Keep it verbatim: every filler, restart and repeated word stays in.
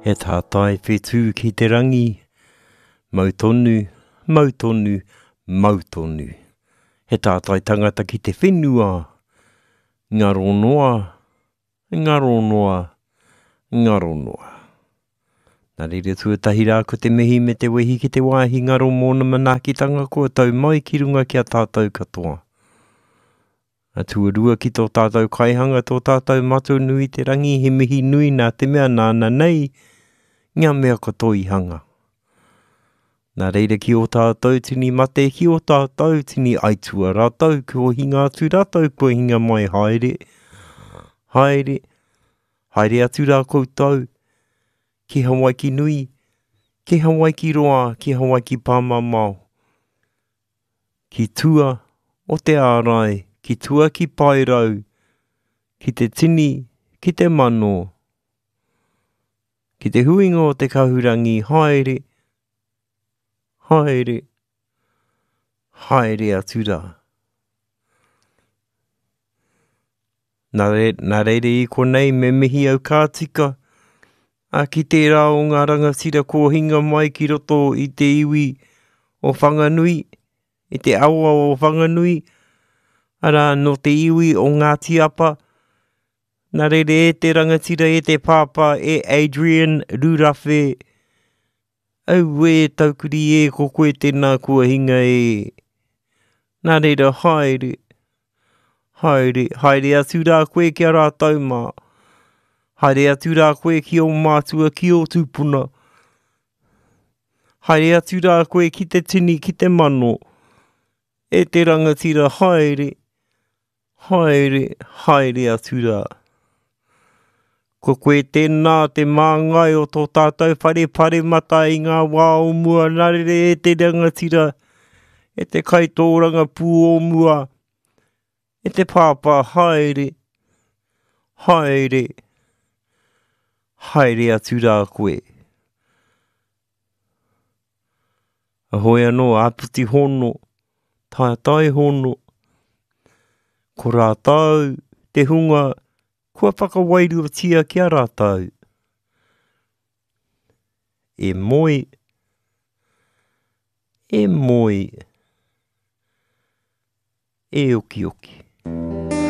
He tātai whetū ki te rangi, mau tonu, mau tonu, mau tonu. He tātai tangata ki te whenua, ngaro noa, ngaro noa, ngaro noa. Nā reira tuatahi rā ko te mihi me te wehi ki te wāhi ngaro mōna manaakitanga kua tau mai ki runga ki a tātou katoa. A tuarua ki tō tātou kaihanga, tō tātou Matua nui te rangi, he mihi nui nā te mea nāna nei ngā mea katoa i hanga. Nā reira ki ō tātou tini mate, ki ō tātou tini aitua rātou, kua hinga atu rātou, kua hinga mai haere, haere, haere atu rā koutou, ki Hawaiki nui, ki Hawaiki roa, ki Hawaiki pāmamao, ki tua o te ārai, ki tua ki Paerau, ki te tini, ki te mano, ki te huinga o te kahurangi, haere, haere, haere atu rā. Nā, re, nā reira i konei me mihi au ka tika, a ki tērā o ngā rangatira kōhinga mai ki roto i te iwi o Whanganui, i te awa o Whanganui, arā nō te iwi o Ngāti Apa, nā reira e te rangatira e te pāpā e Adrian Rurawhe, auē taukuri e ko koe tēnā kua hinga e. Nā reira haere, haere, haere atu rā koe ki a rātou mā. Haere atu rā koe ki ō mātua, ki ō tūpuna. Haere atu rā koe ki te tini, ki te mano. E te rangatira, haere, haere, haere atu rā. Ko koe tēnā te māngai o tō tātou whare paremata i ngā wā o mua, nā reira e te rangatira, e te kaitōrangapū o mua, e te pāpā, haere, haere, haere atu rā koe. A hoi anō, āpiti hono, tātai hono, ko rātou te hunga kua whakawairuatia ki a rātou. E moe, e moe, e okioki.